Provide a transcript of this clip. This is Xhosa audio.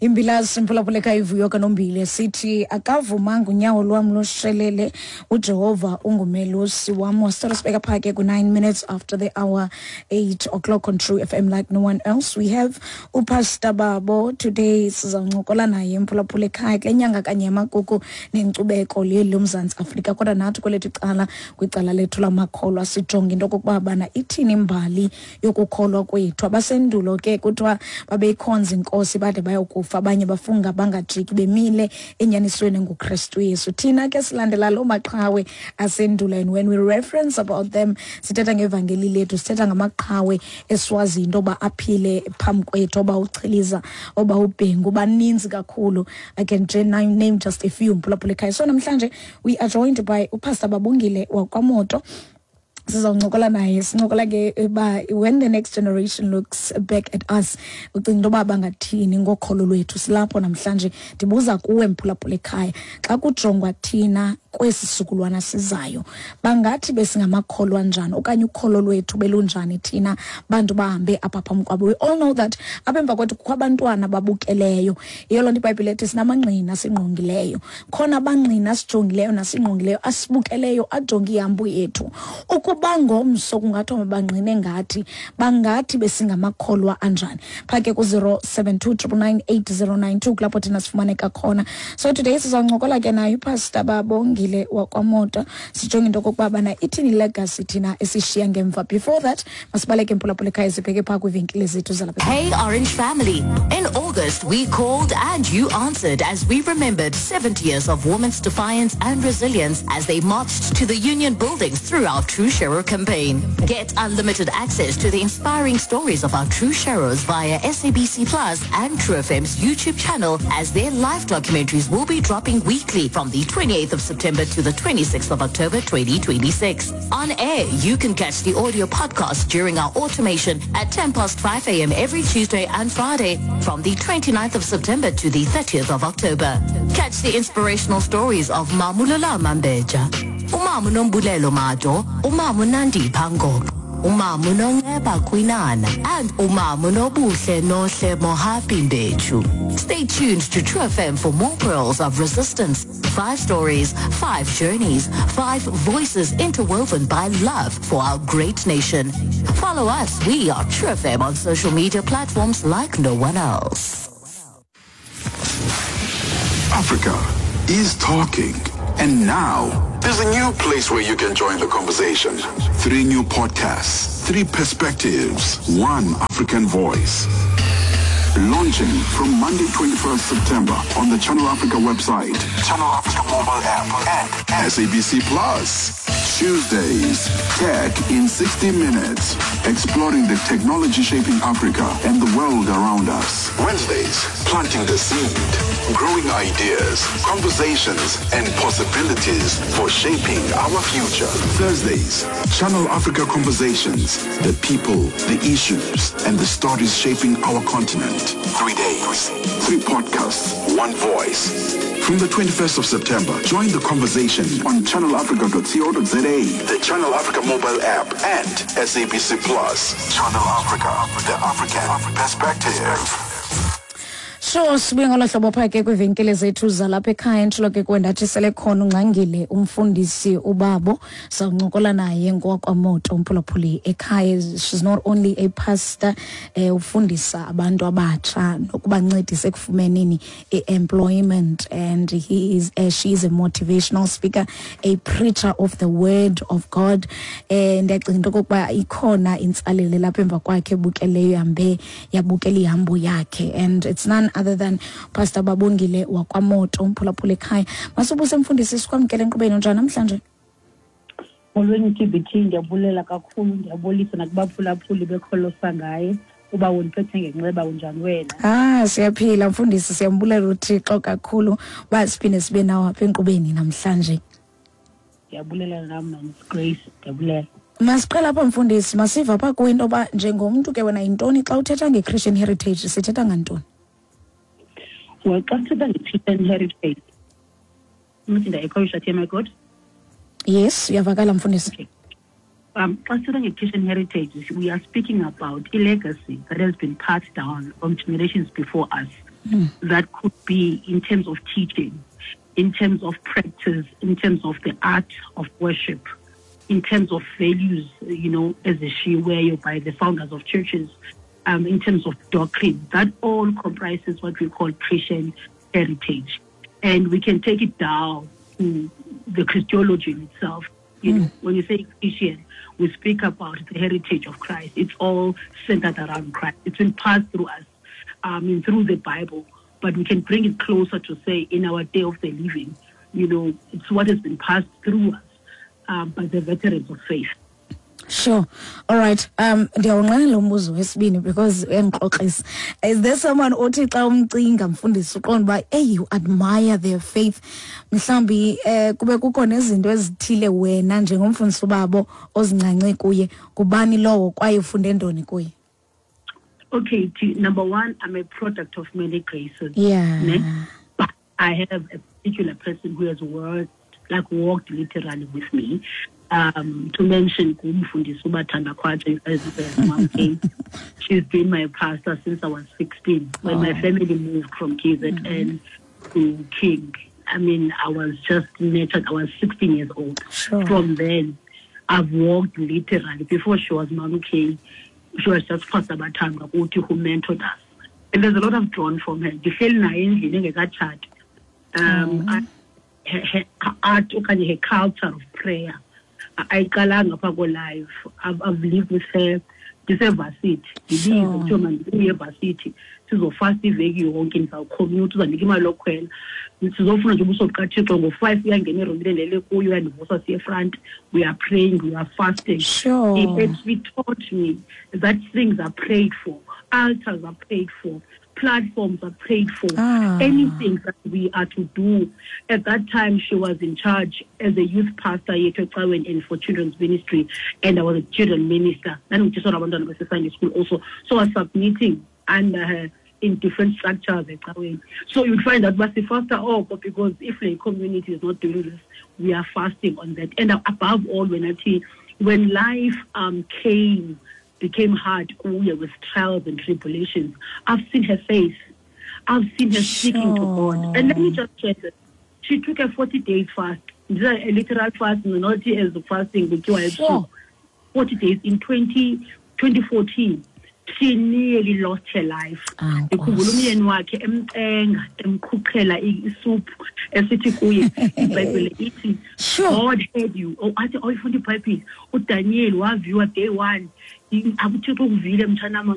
Imbilasi mphulaphula ivuyo kanombile sithi akavumanga unyawo lwam loshelele, uJehova ungumelusi wam. Wasithola sibeka phaa ke ku-9 minutes after the hour 8 o'clock on True FM like no one else. We have uPastor Babo today, sizawuncokola naye mphulaphula ekhaya kule nyanga kanye yamagugu nenkcubeko leli loMzantsi Afrika. Kodwa nathi kwelethu icala, kwicala lethu lamakholwa, sijonge into okokuba bana ithini imbali yokukholwa kwethu. Abasendulo ke kuthiwa babeyikhonza inkosi bade bayokufa, abanye bafunga bangajiki bemile enyanisweni nguKristu Yesu. Thina ke silandela loo maqhawe asendulo, and when we reference about them sithetha ngevangeli lethu, sithetha ngamaqhawe esiwaziyo into yoba aphile phambi kwethu, oba uChiliza, oba uBhengu, baninzi kakhulu. I can name just a few, mphulaphula ekhaya. So namhlanje we are joined by uPastor Babongile wakwaMoto. Sizawuncokola naye, sincokola ke uba when the next generation looks back at us, ucinga into yoba bangathini ngokholo lwethu. Silapho namhlanje, ndibuza kuwe mphulaphula ekhaya, xa kujongwa thina kwesi sizukulwana sizayo, bangathi besingamakholwa njani okanye ukholo lwethu belunjani thina bantu bahambe apha phambi kwabo? We all know that apha emva kwethu kukho abantwana babukeleyo. Yiyo loo nto iBhayibhile ethi sinamangqina asingqongileyo. Khona abangqina asijongileyo nasingqongileyo, asibukeleyo, ajonge ihambo yethu. Ukuba ngomso kungathiwa mabangqine ngathi, bangathi besingamakholwa anjani? Phaa ke ku-072 999 8092 kulapho thina sifumaneka khona. So today sizawuncokola ke naye uPastor Babongile wakwaMoto, sijonge into okokuba bana ithini legacy thina esishiya ngemva. Before that, masibaleke mphulaphula ekhaya, sibheke phaa kwiivenkile zethu zalapha. Hey, Orange family. In August, we called and you answered as we remembered 70 years of women's defiance and resilience as they marched to the union buildings through our True Sharer campaign. Get unlimited access to the inspiring stories of our True Sharers via SABC Plus and True FM's YouTube channel, as their live documentaries will be dropping weekly from the 28th of September to the 26th of October 2026. On air, you can catch the audio podcast during our automation at 10 past 5 a.m. every Tuesday and Friday from the 29th of September to the 30th of October. Catch the inspirational stories of Mamulula Mambeja, Umamu Nombulelo Mado, Umamu Nandi Pangok, Umamu Nonceba Kwinana, and Umamu Nobuhle Nohle Mohapi Mbechu. Stay tuned to True FM for more pearls of resistance. Five stories, five journeys, five voices interwoven by love for our great nation. Follow us. We are True FM on social media platforms like no one else. Africa is talking. And now, there's a new place where you can join the conversation. Three new podcasts, three perspectives, one African voice. Launching from Monday, 21st September on the Channel Africa website, Channel Africa mobile app, and SABC Plus. Tuesdays, Tech in 60 Minutes, exploring the technology shaping Africa and the world around us. Wednesdays, planting the seed, growing ideas, conversations, and possibilities for shaping our future. Thursdays, Channel Africa Conversations, the people, the issues, and the stories shaping our continent. 3 days, three podcasts, one voice. From the 21st of September, join the conversation on channelafrica.co.za, the Channel Africa mobile app, and SABC Plus. Channel Africa, the African perspective. So sibuye ngolo hlobo phaa ke kwiivenkile zethu zalapha ekhaya. Intshilo ke kwendathi sele khona ungxangile umfundisi uBabo, sawuncokola naye ngowakwaMoto umphulaphuli ekhaya. She's not only a pastor, ufundisa abantu abatsha nokubancedisa ekufumeneni i-employment, and he is she is a motivational speaker, a preacher of the word of God. Ndiyacinga into okokuba ikhona intsalele lapha emva kwakhe ebukeleyo, ihambe yabukela ihambo yakhe, and it's none other than Pastor Babongile wakwaMoto umphulaphula ekhaya. Masubuse mfundisi, sikwamkele enkqubeni. Njani namhlanje? Molweni TBT, ndiyabulela kakhulu, ndiyabulisa nakubaphulaphuli bekholosa ngaye. Uba undiphethe ngenceba, unjani wena? Ah, siyaphila mfundisi, siyambulela uThixo kakhulu uba siphinde sibe nawo apha enkqubeni namhlanje. Ndiyabulela nam, Miss Grace, ndiyabulela. Masiqala apha mfundisi, masiva phaa kuwe into yoba njengomntu ke wena yintoni xa uthetha nge-Christian heritage, sithetha ngantoni? Well, xa sithetha nge-Christian heritage, uthi ndayikhowisha thi, my God. Yes, uyavakala mfundisi. Okay. Xa sithetha nge-Christian heritage, we are speaking about a legacy that has been passed down from generations before us. That could be in terms of teaching, in terms of practice, in terms of the art of worship, in terms of values, ezishiyiweyo by the founders of churches, in terms of doctrine. That all comprises what we call Christian heritage. And we can take it down to the Christology in itself. When you say Christian, we speak about the heritage of Christ. It's all centered around Christ. It's been passed through us, through the Bible. But we can bring it closer to say in our day of the living, it's what has been passed through us by the veterans of faith. Sure. All right. Ndiyawunqwenela umbuzo wesibini because uyandixoxisa. Is there someone othi xa umcinga, mfundisi, uqonda uba hey, you admire their faith, mhlawumbi kube kukho nezinto ezithile wena njengomfundisi babo ozincance kuye? Ngubani lowo kwaye ufunde ntoni kuye? Okay, number one, I'm a product of many graces. Ne? But I have a particular person who has walked literally with me. To mention ngumfundisi uBathanda Khwaja, as Mom K. She's been my pastor since I was 16. When my family moved from KZN to King, I mean, I was just nurtured. I was 16 years old. From then, I've walked literally. Before she was Mom K, she was just Pastor Bathandwa who mentored us. And there's a lot I've drawn from her. Ndihleli naye endlini engekatshati. Her art okanye her culture of prayer ayiqalanga phaa ko-live. I've lived with her ndisevasithi, ndibize kuthiwe mandibuye evasithi sizofasta iveki yonke, ndizawucommute, uzandinika imali yokhwela, sizofuna nje ubuso bukaThixo. Ngo-5 uyangena erumini endilele kuyo, uyandivusa siye front, we are praying, we are fasting. It taught me that things are prayed for, altars are prayed for, platforms are prayed for, anything that we are to do. At that time, she was in charge as a youth pastor yethu ecaweni and for children's ministry, and I was a children minister. Ndandingutitshala wabantwana base-Sunday school also. So I was submitting under her in different structures ecaweni. So you'd find that basifasta oko, because if the community is not doing this, we are fasting on that. And above all, when life became hard kuye with trials and tribulations, I've seen her face. I've seen her speaking to God. And let me just share this. She took a 40-day fast, a literal fast, not as fasting, but 40 days in 2014. She nearly lost her life. Ndikhumbula umyeni wakhe emcenga, emqhuqhela isuphu, esithi kuye, iBhayibhile ithi, God heard you. Oh, athi awuyifunda iBhayibhile, uDaniel waviwa day 1. UThixo ukuvile, mtshanam.